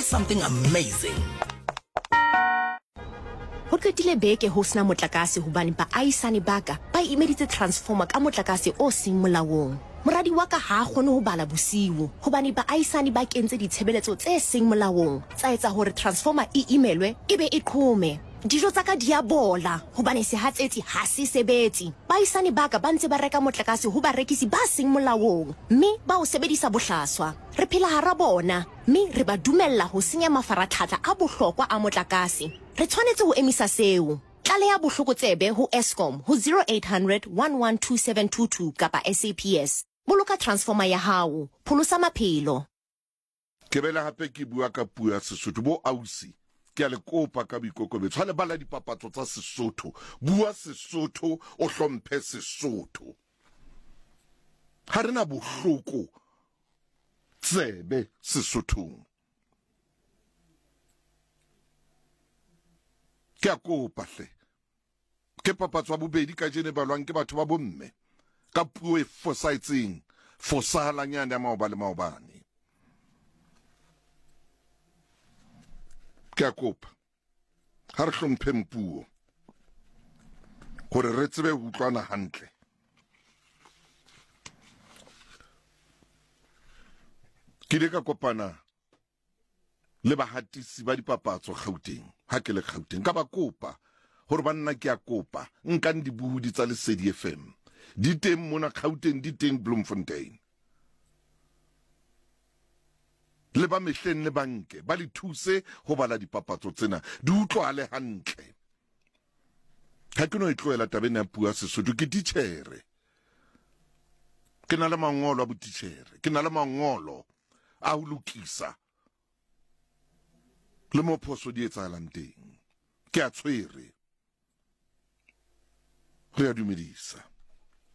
something amazing. Ho qetile beke ho sena motlakase hobane baahisane ba ka ba imeditse transformer ka motlakase o seng molaong. Moradi wa ka ha a kgone ho bala bosiu hobane baahisane ba kentse ditshebeletso tse seng molaong tsa etsa hore transformer e imelwe e be e qhome. Dijo tsa ka di a bola hobane sehatsetsi ha se sebetse. Baahisane ba ka ba ntse ba reka motlakase ho barekisi ba seng molaong mme ba o sebedisa bohlaswa. Re phela hara bona mme re ba dumella ho senya mafaratlhatlha a bohlokwa a motlakase. Re tshwanetse ho emisa seo. Tlaleha bohlokotsebe ho Eskom ho 0800 112722 kapa SAPS. Boloka transformer ya hao. Pholosa maphelo. Ke bele hape ke bua ka puo ya Sesotho. Bo ausi, ke a le kopa ka boikokobetso, ha le bala dipapatso tsa Sesotho, bua Sesotho, o hlomphe Sesotho. Ha re na bohloko tsebe Sesothong. Ke a kopa hle. Ke papatso ya bobedi kajeno e balwang ke batho ba bomme ka puo e fosahetseng, fosahalang yane ya maoba le maobane. Ke a kopa, ha re hlompheng puo hore re tsebe ho utlwana hantle. Ke ile ka kopana le bahatisi ba dipapatso Gauteng ha ke le Gauteng ka ba kopa hore banna ke a kopa nkang dibohodi tsa Lesedi FM di teng mona Gauteng di teng Bloemfontein le ba mehleng le banke ba le thuse ho bala dipapatso tsena di utlwale hantle ha ke no e tlohela tabeng ya puo ya Sesotho ke titjhere ke na le mangolo a botitjhere ke na le mangolo a ho lokisa le mo phoso di etsahalang teng ke a tshwere re a dumedisa.